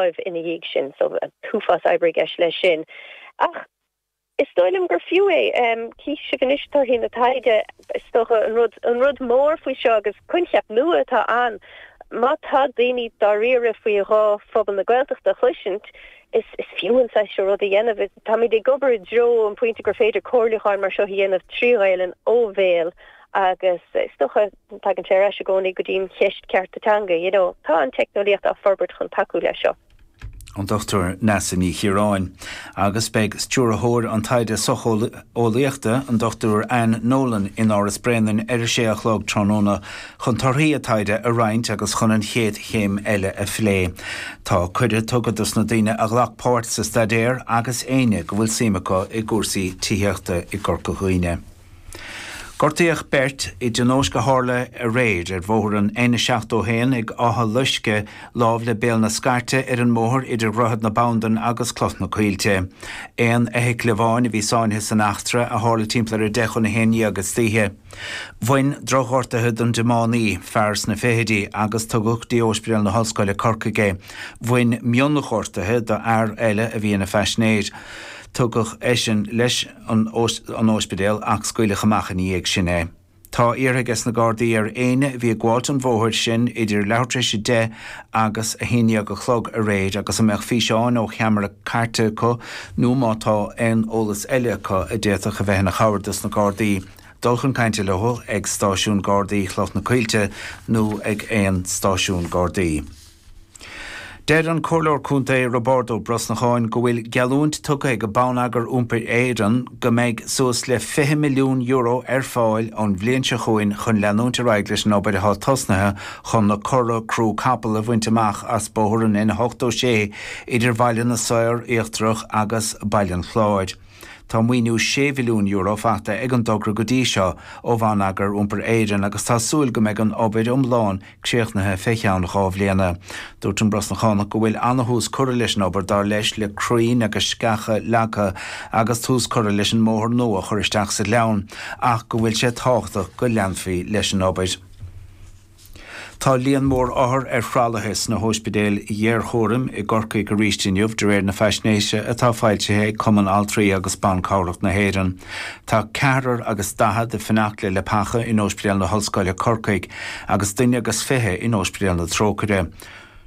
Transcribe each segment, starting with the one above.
láimh ina dhiaidh sin. So an t-uafás oibre i gceist leis sin. Ach is dóigh liom gur fiú é. Cífidh sibh anois torthaí na taighde. Is dócha an rud, an rud mór faoi seo agus coincheap nua atá ann, má tá daoine dáiríre faoi ghuth phobal na Gaeltachta a chloisint, is is fiú an saghas seo rud a dhéanamh. Táimid ag obair i dtreo an pointe gur féidir comhairliúcháin mar seo a dhéanamh trí Ghaelainn ó bhéal agus is dócha tagann sé ar ais i gcónaí go dtí an cheist cearta teanga, you know. Tá an teicneolaíocht á forbairt chun tacú leis seo. An Dr Neasa Ní Chiaráin. Agus beidh Stiúrthóir an Taighde Socheolaíochta, an Dr Anne Nolan, in Áras Bréanainn ar a sé a chlog tráthnóna chun torthaí a taighde a roinnt agus chun an chéad chéim eile a phlé. Tá cuireadh tugtha dos na daoine a ghlac páirt sa staidéar agus éinne go bhfuil suim acu i gcúrsaí tithíochta i gCorca Dhuibhne. Gortaíodh beirt i dtionóisc a tharla aréir ar bhóthar an N71 ag Áth Loisce, lámh le Béal na Scairte ar an mbóthar idir Dhroichead na Bandan agus Cloich na Coillte. Aon fheithicil amháin a bhí sáinnithe san eachtra, a tharla timpeall ar 10 chun 11 istoíche. Bhain drochghortuithe don dtiománaí, fear sna fichidí, agus tugadh go dtí Ospidéal na hOllscoile, Corcaigh é. Bhain mionghortuithe do fhear eile a bhí ina phaisinéir. Tugadh eisean leis an óispidéal ach scaoileadh amach ina dhiaidh sin é. Tá iarrtha ages na Gardaí ar éinne a bhí ag gabháilt an bhóthair sin idir leathuair tar éis 10 agus 11 a chlog aréir agus a mbeadh físeáin ó cheamara cairte acu nó má tá aon eolas eile acu a d'fhéadfadh a bheith ina chabhair dos na Gardaí, dul chun cainte leo ag Stáisiún Gardaí Chloich na Coillte nó ag aon stáisiún Gardaí. Deir an Comhairleoir Contae Roibeárd Ó Brosnacháin go bhfuil geallúint tugtha ag Bonneagar Iompair Éireann go mbeidh suas le €20 milliún ar fáil ón bhliain seo chugainn chun leanúint ar aghaidh leis an obair atá tosnaithe chun na cora crú capall a bhaint amach as bóthar an N86 idir Bhaile na Saor Íochtarach agus Baile an Chláir. Tá maoiniú €6 mhilliún faighte ag an dtogra go dtí seo ó Bhonneagar Iompair Éireann agus tá súil go mbeidh an obair iomlán críochnaithe fé cheann 2 bhliana. Dúirt an Brosnachánach go bhfuil ana-thús curtha leis an obair dar leis le crainn agus sceacha leagtha agus tús curtha leis an mbóthar nua a chur isteach sa ghleann ach go bhfuil sé tábhachtach go leanfaí leis an obair. Tá líon mór othar ar thralaithe sna hóispidéil ghéarchúraim i gCorcaigh arís inniu, de réir na faisnéise atá foilsithe ag Cumann Altraí agus Ban Cabhrach na hÉireann. Tá ceathrar agus daichead ag fanacht le leapacha in Óispidéal na hOllscoile, Corcaigh, agus duine agus 20 in Óispidéal na Trócaire.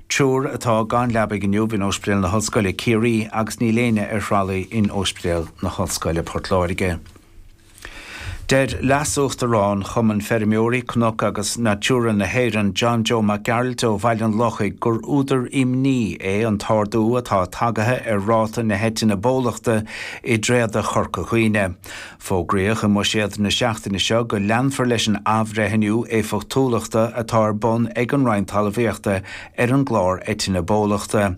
Triúr atá gan leabaidh inniu in Óispidéal na hOllscoile, Ciarraí, agus níl éinne ar thralaí in Óispidéal na hOllscoile, Port Láirge. Deir Leas-Uachtarán Chumann Feirmeoirí Cnoc agus Natura na hÉireann, John Joe Mac Gearailt ó Bhaile an Lochaigh gur údar imní é an t-ardú atá tagaithe ar ráta na heitinne bólachta i dtréada Chorca Dhuibhne. Fógraíodh i mbuiséad na seachtaine seo go leanfar leis an athbhreithniú éifeachtúlachta atá ar bun ag an Roinn Talmhaíochta ar an gclár eitinne bólachta.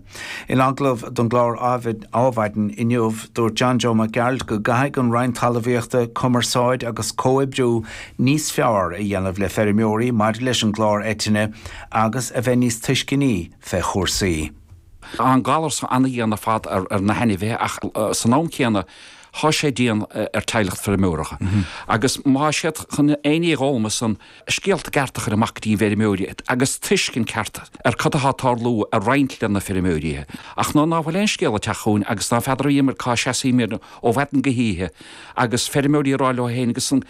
In agallamh don gclár Adhmhaidin inniu, dúirt John Joe Mac Gearailt go gcaithfidh an Roinn Talmhaíochta cumarsáid agus comhoibriú níos fearr a dhéanamh le feirmeoirí maidir leis an gclár eitinne agus a bheith níos tuisceanaí fé chúrsaí. Tá an galar so ana-dhian ar fad ar na hainmhithe ach san am céanna thá sé dian ar teaghlach feirmeoireacha. Agus má thá siad chun aon ní a dh'fhoghlaim ansan, scéalta ceart a chur amach go dtí an bhfeirmeoirí agus tuiscint ceart ar cad athá ag tarlú a roinnt le na feirmeoirí. Ach nuair ná fuil aon scéal ag teacht chugainn agus ná feadar bhíomar cá seasaímir ó mhaidin go hoíche agus feirmeoirí ag rá leo féin agus an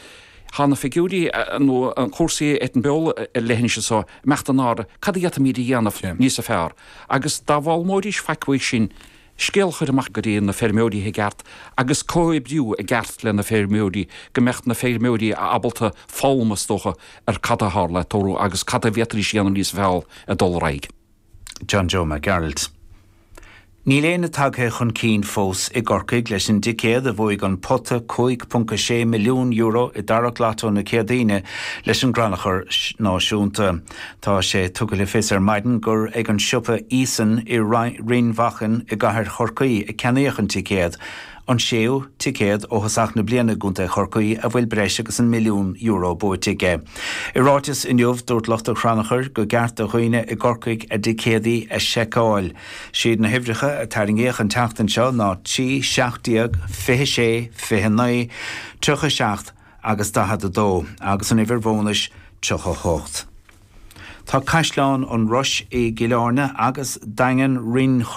Thá na figiúirí nó an cúrsaí ar an beol ar leithinis anso imeacht in airde, cad a d'fhéadfaimíd a dhéanamh níosa fearr? Agus dá bhfoghlaimeoidís faic uaidh sin, scéal a chur amach go dtí na feirmeoirí i gceart agus comhoibriú i gceart le na feirmeoirí go mbeadh na feirmeoirí ábalta foghlaim is dócha ar cad a tharla ag tarlú agus cad a bhféadfaidís a dhéanamh níos fearr ag dul ar aghaidh. John Joe Mac Gearailt. Níl éinne tagtha chun cinn fós i gCorcaigh leis an dticéad a bhuaigh an pota €5.6 milliún i dtarrac Lotto na Céadaoine leis an gCrannchur Náisiúnta. Tá sé tugtha le fios ar maidin gur ag an siopa Eason i Rinn Mhachain i gcathair Chorcaí a ceannaíodh an ticéad, an séú ticéad ó thosach na bliana i gContae Chorcaí a bhfuil breis agus an €1 milliún buaite aige. I ráiteas inniu, dúirt lucht an chrannchuir go gceart do dhaoine i gCorcaigh a dticéadaí a sheiceáil. Siad na huimhreacha a tarraingíodh an tseachtain seo ná 3, 17, 26, 29, 37 agus 42 agus an uimhir bhónais 38. Tá Caisleán an Rois i gCill Airne agus Daingean Rinn.